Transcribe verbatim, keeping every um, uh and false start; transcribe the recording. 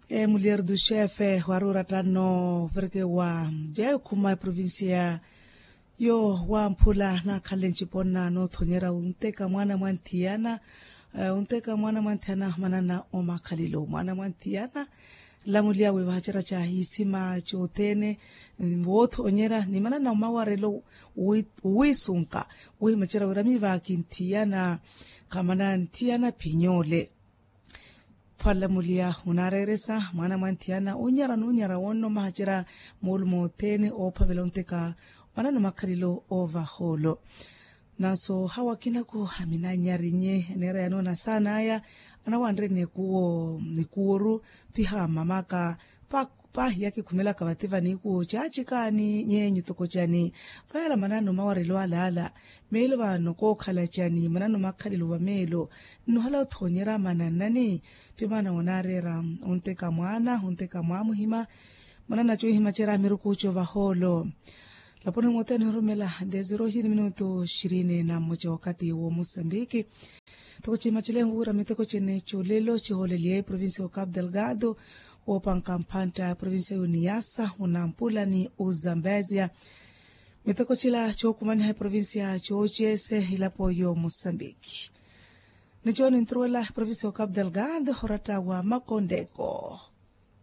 Mulherdu xefe wari oratta nno ovireke wa jekhuma eprovincia yo wamphula nakhalle nciponna nothonyera onteka mwana mwa nthiyana. Onteka mwana mwa nthiyana manana omakhalilo mwana mwa nthiyana. Lamuliya wi vahacerya ca hisima cothene wothonyera ni manana omawarelo wisunka wihimacerya wira mivaaki nthiyana khamana nthiyana phinyole. Phwalamuliya onaareeresa mwaana mwa nthiyana onyara n'onyara wonno mahacerya moolumo othene oophavela onteka mwanano makhalelo ovahoolo. Nanso hawa akina ku aminanyari nye neera yanoona saana aya anawanre nikuwo nikuworu piha mamaka. Paahiya kikhumelaka vati vanikuwo caacikaani nyeenyu tokocani. Vayala manano mawarelo alaala meelo vano kookhala cani manano makhalelo vameelo nnohala othoonyera mananani. Pi mwaana onaareera onteka mwaana onteka mwaamuhima. Mwanana cohimacerya miruku covahoolo laponi mothene nirumela dezero hiri minutu xirini na mmoca wakathi wo mosambiki. Toko cimacelengu wira miteko cene colelo cihooleliye provincia yo capu delgado woopanka mphantta provincia yo niasa onampula ni ozambezia. Miteko cila cookumaniha eprovincia coocese ilapo yo mosambiki. Ni coo ninturuwela provincia yo capu delgado oratta wa makondeko.